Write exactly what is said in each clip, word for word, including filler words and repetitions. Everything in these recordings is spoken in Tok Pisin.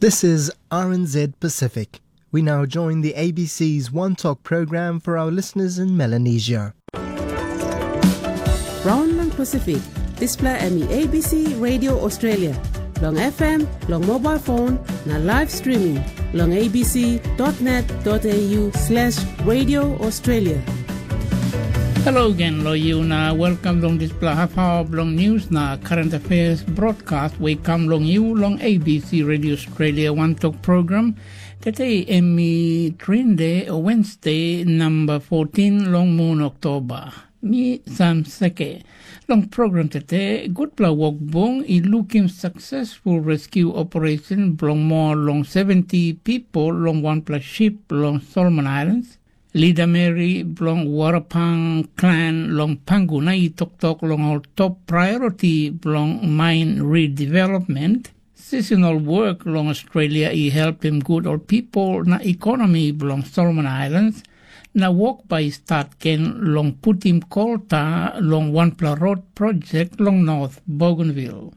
This is R N Z Pacific. We now join the A B C's One Talk program for our listeners in Melanesia. Raun long Pasifik, dispela em i A B C Radio Australia, long F M, long mobile phone, na live streaming long A B C dot net dot A U slash Radio Australia. Hello again, lo you na welcome long dispela half hour bilong news na current affairs broadcast we kam long you long A B C Radio Australia One Talk program. Today em i Trinde, Wednesday, number fourteen long moon October. Mi Sam Seke. Long program tete, gutpela wokbung i lukim successful rescue operation bilong moa long seventy people long wanpela ship long Solomon Islands. Lida Mary bilong Warapang clan long Panguna i toktok long ol top priority bilong mine redevelopment, seasonal work long Australia i helpim gut ol people na ekonomi bilong Solomon Islands, na wok bai i stat gen long putim kolta long wanpela rot projek long North Bougainville.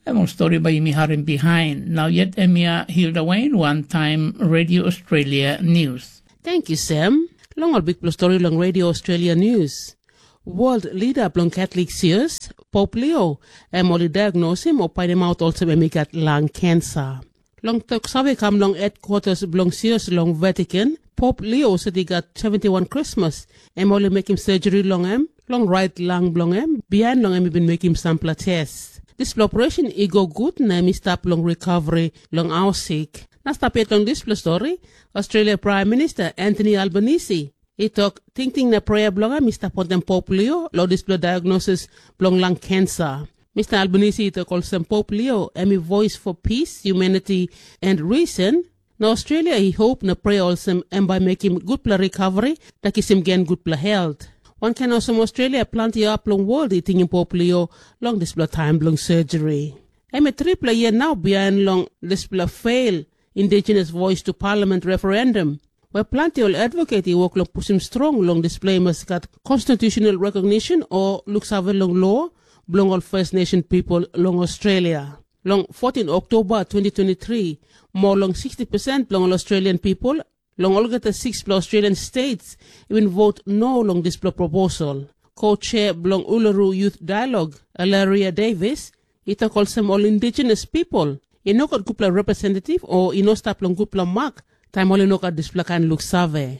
Em ol stori bai yumi harim bihain. Nau yet em ya Hilda Wayne, wantaim Radio Australia News. Thank you, Sam. Long ol bikpela stori long Radio Australia News. World leader bilong Catholic Sios, Pope Leo, em ol i diagnosim o painimaut olsem em i gat lung cancer. Long tok save kam long headquarters bilong Sios long Vatican, Pope Leo set i gat seventy-one Krismas, em ol i mekim surgery long em, long right lung bilong em, bihain long em i bin mekim sampela tes. Dispela operation i go gut na em i stap long recovery long haus sik. Na stap yet long dispela stori, Australia Prime Minister Anthony Albanese i tok tingting na prea bilong em i stap wantaim Pope Leo long dispela diagnosis bilong lung cancer. Mister Albanese i tok olsem Pope Leo em i voice for peace, humanity and reason. Na Australia i hope na prea olsem em bai mekim gutpela recovery na kisim gen gutpela health. Wankain olsem Australia planti hap long world i tingim Pope Leo long dispela taim bilong surgery. Em i tripela yia nau bihain long dispela fail Indigenous Voice to Parliament referendum, where planti ol advocate i wok long pusim strong long dispela i mas gat constitutional recognition o luksave long lo bilong ol First Nation people long Australia. Long fourteen Oktoba twenty twenty-three, more long sixty percent bilong ol Australian people long olgeta sikspela Australian states i bin vot no long dispela proposal. Co-chair bilong Uluru Youth Dialogue, Alaria Davis, i tok olsem ol indigenous people i no gat gutpela representative o i no stap long gutpela mak taim ol i no gat dispela kain luksave.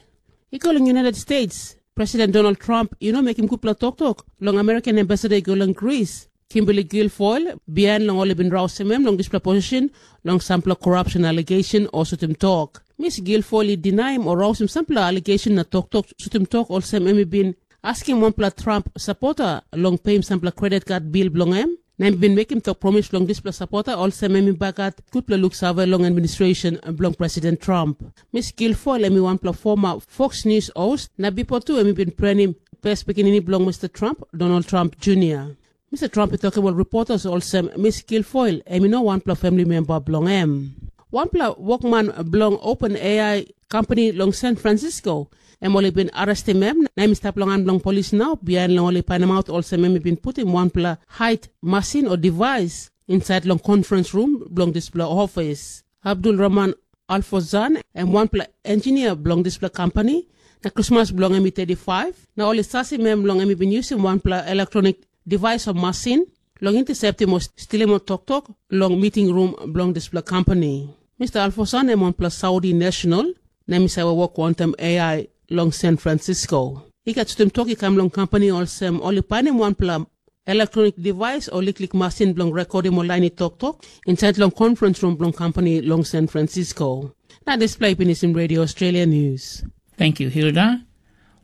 I go long United States, President Donald Trump i no mekim gutpela toktok long American ambassador i go long Greece, Kimberly Guilfoyle, bihain long ol i bin rausim em long dispela position long sampela corruption allegation o sutim tok. Miss Guilfoyle i dinaim o rausim sampela allegation na toktok sutim tok olsem em i bin askim wanpela Trump sapota long peim sampela credit card bil bilong em, na em i bin mekim tok promis long dispela sapota olsem em i bai gat gutpela luksave long administration bilong President Trump. Miss Guilfoyle em i wanpela former Fox News host, na bipo tu em i bin prenim pes pikinini bilong Mister Trump, Donald Trump Junior. Mister Trump i tokim ol reporters olsem Miss Guilfoyle em i no wanpela famili memba bilong em. Wanpela wokman bilong OpenAI kampani long San Francisco, em ol i bin arrestim em na em i stap long han bilong polis nau, bihain long ol i painimaut olsem em i bin putim wanpela hait masin o device insait long conference room bilong dispela ofis. Abdul Rahman Alfozan, em wanpela engineer bilong dispela kampani, na krismas bilong em i thirty-five, na ol i sasim em long em i bin yusim wanpela electronic device o masin long interceptim o stilim ol toktok long meeting room bilong dispela kampani. Mister Alfozan em wanpela Saudi national, na em i save wok wantaim A I long San Francisco. I gat sutim tok i kam long kampani olsem ol i painim wanpela electronic device o liklik masin bilong rekodim ol lain i toktok insait long conference room bilong kampani long San Francisco. Na dispela i pinisim Radio Australia News. Thank you, Hilda.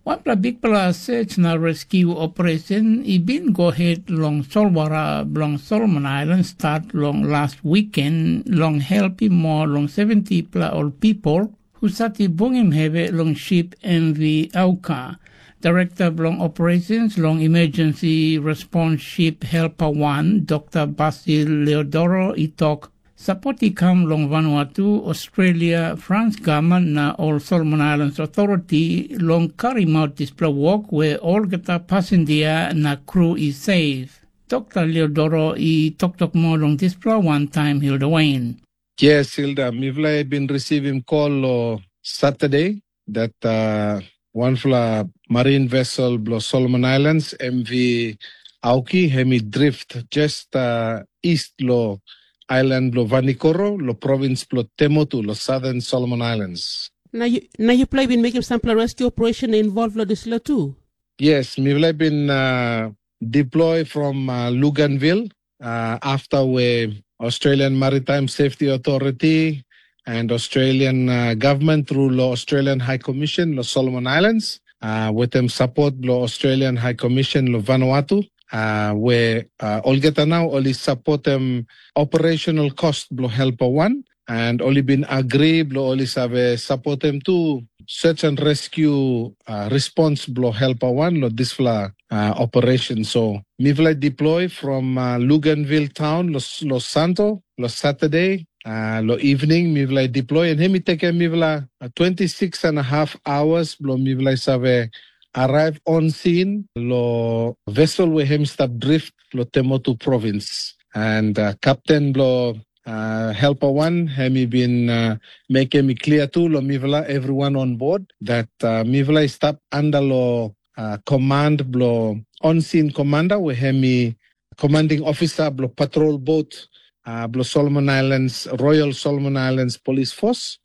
Wanpela bikpela search na rescue operation i bin go het long solwara bilong Solomon Island start long last weekend long helpim moa long seventy pela ol people husat i bungim hevi long ship M V Auka. Direkta bilong operations long emergency response ship Helper one, Dokta Basil Leodoro i tok, sapot i kam long Vanuatu, Australia, Frans gavman na ol Solomon Islands Authority long karimaut dispela wok we olgeta pasindia na kru i seif. Dokta Leodoro i toktok moa long dispela wantaim Hilda Wayne. Yes, Hilda, mipela i bin risivim kol long Saturday dat uh, wanpela marin vessel bilong Solomon Islands, M V Auki, em i drift just uh, east lo island bilong Vanikoro, lo provins bilong Temotu, lo Southern Solomon Islands. Na, yu, na yupela i bin mekim sampela rescue operation na involve lo dispela tu? Yes, mipela i bin uh, deploy from uh, Luganville uh, after we Australian Maritime Safety Authority and Australian uh, government through lo Australian High Commission lo Solomon Islands uh, with them support lo Australian High Commission lo Vanuatu. Uh, we uh, olgeta now only support them operational cost blo helper one and only been agree blo only save support them to search and rescue uh, response blo helper one lo disfla uh, operation. So mifla deploy from uh, Luganville town lo, lo Santo lo Saturday uh, lo evening mifla deploy and hemi tekem mifla uh, twenty-six and a half hours blo mifla save arrive on scene lo vessel we hem stap drift lo Temotu province. And uh, captain blo uh, helper one, hem i bin uh, mekim i clear tu lo mifla everyone on board that uh, mifla i stap under lo uh, command blo on scene commander we hem i commanding officer blo patrol boat uh, blo Solomon Islands, Royal Solomon Islands Police Force,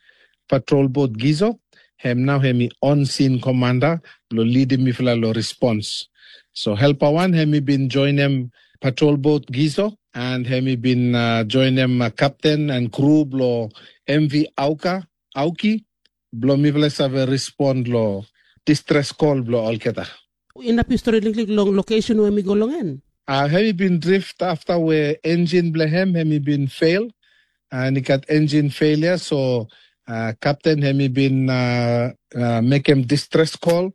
patrol boat Gizo. Hem nau hem i on scene commander blo leading mifla lo response. So helper one hem i bin joinim patrol boat Gizo and hem i bin uh, joinim uh, captain and crew blo M V Auka Auki blo mifla save respond lo distress call blo olgeta. Inap yu stori liklik long location we mi go long en. Uh, hem i bin drift after we engine blo hem hem i bin fail and i gat engine failure. So uh, captain hem i bin uh, uh, mekim distress call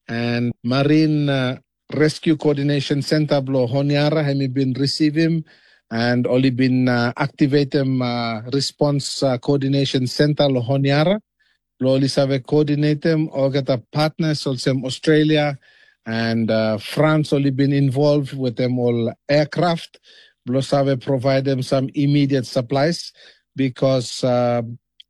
and marine uh, rescue coordination center blo Honiara hem i bin receivim and oli bin uh, activatem uh, response uh, coordination center lo Honiara. Lo oli save coordinatem olgeta partners olsem Australia and uh, France oli bin involved with them all aircraft. Blo save providem some immediate supplies because uh,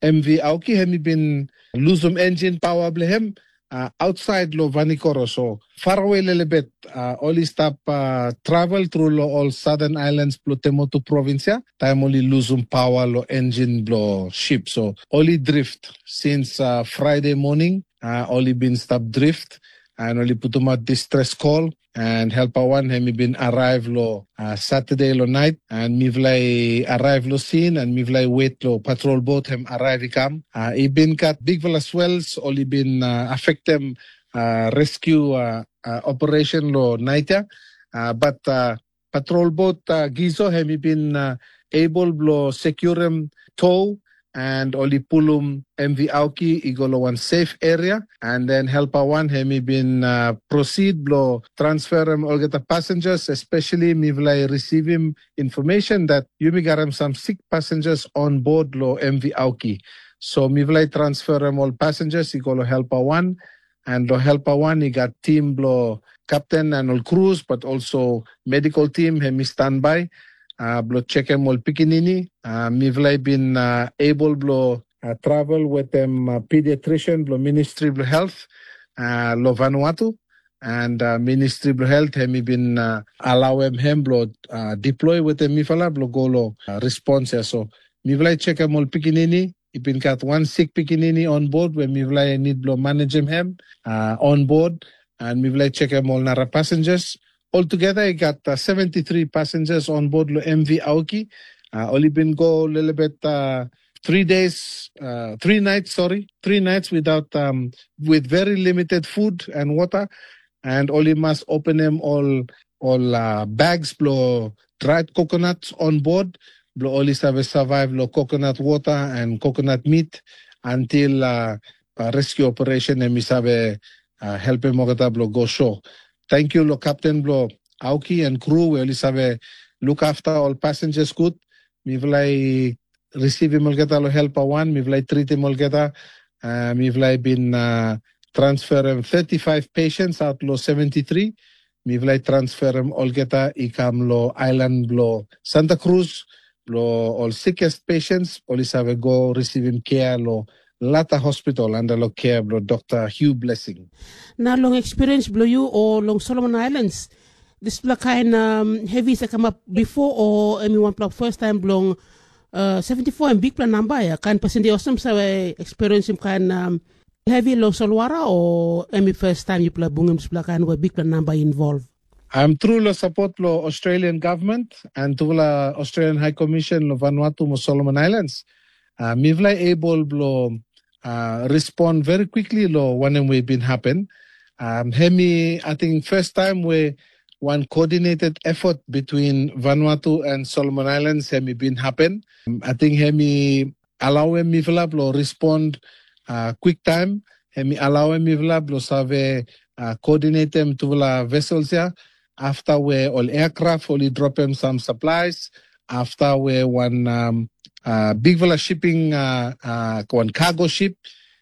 M V Auki hem i bin losum engine power blo hem uh, outside lo Vanikoro. So far away lelebet uh, oli stap uh, travel through lo all southern islands blo Temotu province ya. Taim oli losum power lo engine blo ship. So oli drift since uh, Friday morning. Uh, oli bin stap drift and oli putumat distress call. And helper one hem i bin arrive lo uh, Saturday lo night and mifla i arrive lo scene and mifla i wait lo patrol boat hem arrive i kam. Uh, i bin gat bigfala swells ol i bin uh, affectem uh, rescue uh, uh, operation lo night ya. Uh, but uh, patrol boat uh, Gizo hem i bin uh, able blo securim tow and oli pulum M V Auki i go lo one safe area and then helper one hem i bin uh, proceed blo transferim olgeta passengers, especially mifla i receivim information that yumi garim some sick passengers on board lo M V Auki. So mifla i transferim ol passengers i go lo helper one and lo helper one i gat team blo captain and ol crews but also medical team hem i standby uh, blo chekem ol pikinini. Uh, mifla i bin uh, able blo uh, travel wetem uh, pediatrician blo Ministry blo Health uh, lo Vanuatu. And uh, Ministry blo Health hem i bin uh, alauem hem blo uh, deploy wetem mifala blo go lo uh, response ya. So mifla i chekem ol pikinini, i bin gat wan sik pikinini on board we mifla i nid blo manejem hem uh, on board. And mifla i chekem ol nara passengers. Altogether i gat uh, seventy-three passengers on board lo M V Auki. Uh, oli bin go lelebet uh, three days, uh, three nights, sorry, three nights without, um, with very limited food and water. And oli mas openem ol ol uh, bags blo dried coconuts on board blo oli save survive lo coconut water and coconut meat until uh, uh, rescue operation em i save uh, helpim olgeta blo go shore. Thank you lo captain blo Auki and crew we oli save look after ol passengers good. Mifla i receivim olgeta lo helper one, mifla i treatim olgeta. Uh, mifla i bin uh, transferim thirty-five patients out lo seventy-three. Mifla i transferim olgeta i kam lo island blo Santa Cruz Lo ol sickest patients, ol i save go receivim care lo lata hospital under lo care blo Dr. Hugh Blessing. Na long experience blo you o long Solomon Islands, dispela kain um, heavy sa kamap before o em i wanpela first time blong uh, seventy-four em bikpela namba ya, kain pasin de osem save experiencing kain um, heavy long solwara o em i first time yupela bungim dispela kain wa bikpela namba involve? I'm true lo support lo Australian government and tupela Australian High Commission lo Vanuatu mo Solomon Islands. Uh, mivela able blo uh, respond very quickly lo wanem we bin happen. Um, hemi, I think first time we one coordinated effort between Vanuatu and Solomon Islands hemi bin happen. Um, I think hemi allow em mifela blo respond uh, quick time. Hemi allow em mifela blo save uh, coordinate em tupela vessels ya. After we ol aircraft ol i dropem some supplies, after we one um, uh, bigfala shipping uh, uh, one cargo ship,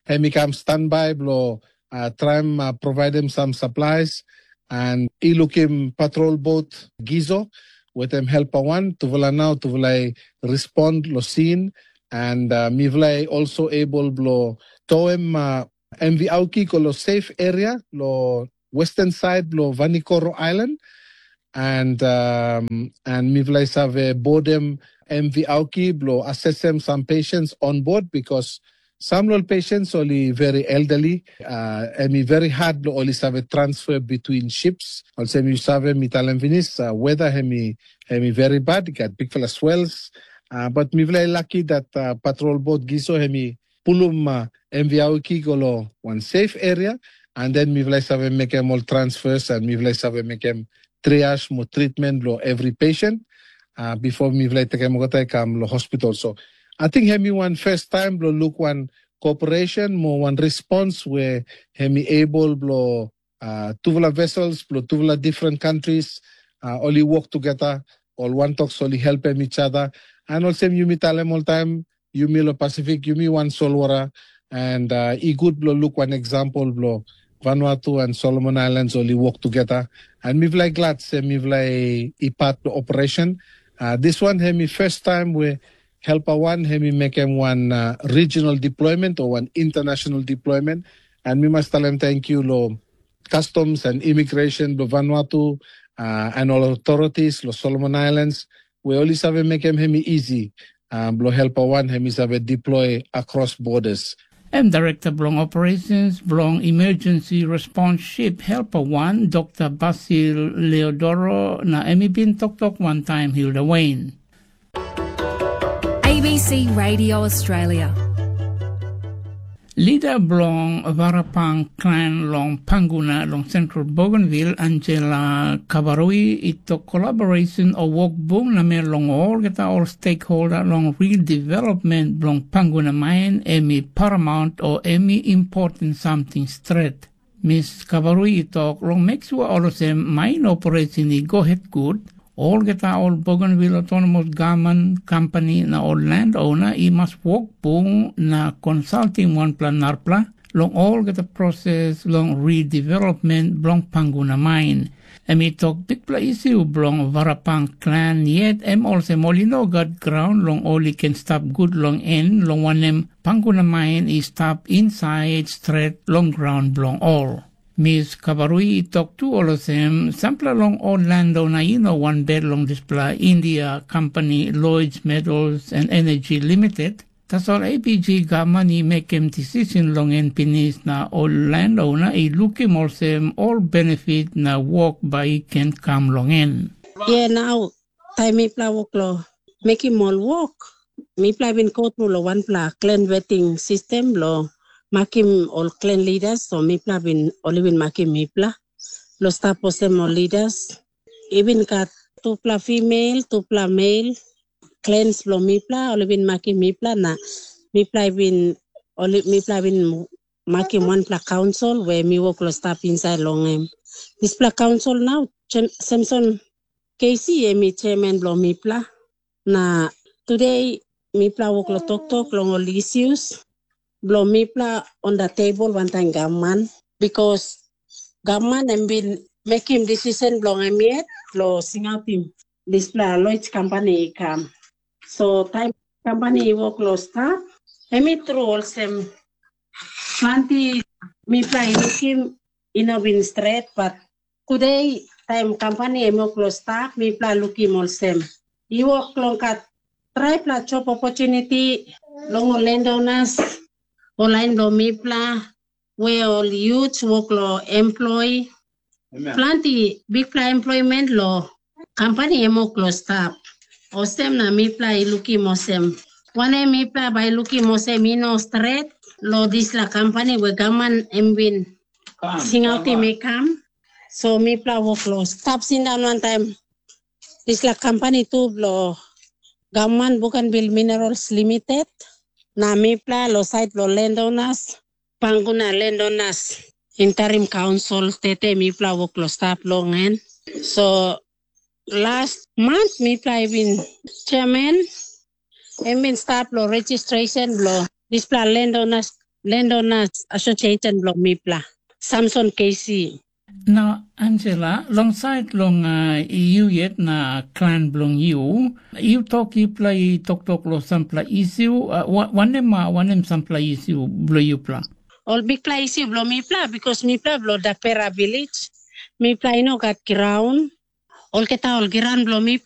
hemi kam standby blo uh, traim uh, providem some supplies, and i lukim patrol boat Gizo wetem helper one, tufala nau tufala i respond lo scene, and uh, mifala i also able blo toem uh, M V Auki go lo safe area lo western side blo Vanikoro Island, and um, and mifala i save bodem M V Auki blo assessem some patients on board because some lo patients only very elderly, uh, and very hard blo only save transfer between ships. Also, you save mi talem finis, uh, weather hemi hemi very bad, got big fella swells. Uh, but mifala i lucky that uh, patrol boat Gizo hemi pulum uh, M V Auki go lo one safe area, and then mifala i save mekem all transfers and mifala i save mekem triage mo treatment lo every patient uh, before mifala i tekem kota i kam lo hospital. So I think hemi one first time blo look one cooperation mo one response where hemi able blo uh, tufala vessels blo tufala different countries uh, only work together, all one talks only help them each other. And also yumi talem all time, yumi lo Pacific, yumi one solwara, and uh, i good blo look one example blo Vanuatu and Solomon Islands only work together. And mifala i glad se mifala i part blo operation. Uh, this one hemi first time we helper one hemi mekem one uh, regional deployment or one international deployment. And mi mas talem thank you lo customs and immigration blo Vanuatu uh, and all authorities lo Solomon Islands we only save mekem hemi easy uh, blo helper one hemi save deploy across borders. Em Direkta bilong Operations bilong Emergency Response Ship Helper wan, Dokta Basil Leodoro, na em i bin toktok wantaim Hilda Wayne. A B C Radio Australia. Lida bilong Varapang klan long Panguna long Central Bougainville, Angela Kabarui, i tok kolaborasyon o wokbung namel long olgeta ol stekholda long redevelopment bilong Panguna main em i paramount o em i important samting stret. Mis Kabarui i tok long meksua olsem main operation i go het gut, olgeta ol Bougainville Autonomous Government Company na ol landowner i mas wok bung na konsaltim wanpela narapela long olgeta proses long redevelopment bilong Panguna main. Em i tok bikpela isi bilong Varapang klan yet em olsem ol i no gat graun long ol i ken stap gut long en, long wanem, Panguna main i stap insait stret long graun bilong ol. Mis Kavarui i tok tu olsem, sampela long ol landowner i no wanbel long dispela India kompani Lloyds Metals and Energy Limited, tasol A P G gavman i mekim decision long en pinis na ol landowner i lukim olsem ol benefit na wok bai i ken kam long en. Ia nau, taim mipela wok long mekim ol wok, mipela i bin go tru long wanpela klen weting sistem bilong makim ol klen lidas, so mipela bin, ol i bin makim mipela long stap olsem ol lidas. I bin gat tupela female, tupela male klens bilong mipela, ol i bin makim mipela, na mipela i bin, ol i, mipela i bin makim wanpela kaunsil we mi wok long stap insait long em. Dispela kaunsil nau, Samson Casey em i chairman bilong mipela. Na today mipela wok long toktok long ol issues bilong mipela on the table wantaim gavman, because gavman em bin mekim decision bilong em yet long singautim dispela Lloyds company i kam. So taim company i wok long stap, em i tru olsem, planti mipela i lukim i no bin stret, but today taim company em wok long stap, mipela lukim olsem, i wok long gat traipela job opportunity long ol landowners, ol lain bilong mipela, we ol youths wok long employ. Planti bikpela employment long company em wok long stap. Olsem na mipela i lukim olsem, wanem mipela bai lukim olsem i no stret long dispela company we gavman em bin singautim i kam. So mipela wok long stap sindaun wantaim dispela company tu bilong gavman Bougainville Minerals Limited, na mipela long sait bilong landowners, Panguna Landowners Interim Council, tete mipela wok long stap long en. So last month mipela i bin chairman, em bin stap long registration bilong dispela landowners, landowners association bilong mipela, Samson K C. Na Angela, long sait long uh, yu yet na klan bilong yu, yu tok yupela i toktok long sampela issue, uh, wa- wanem uh, wanem sampela issue bilong yupela? Ol bikpela issue bilong mipela, because mipela bilong Dapera village, mipela i no gat graun. Olgeta ol graun bilong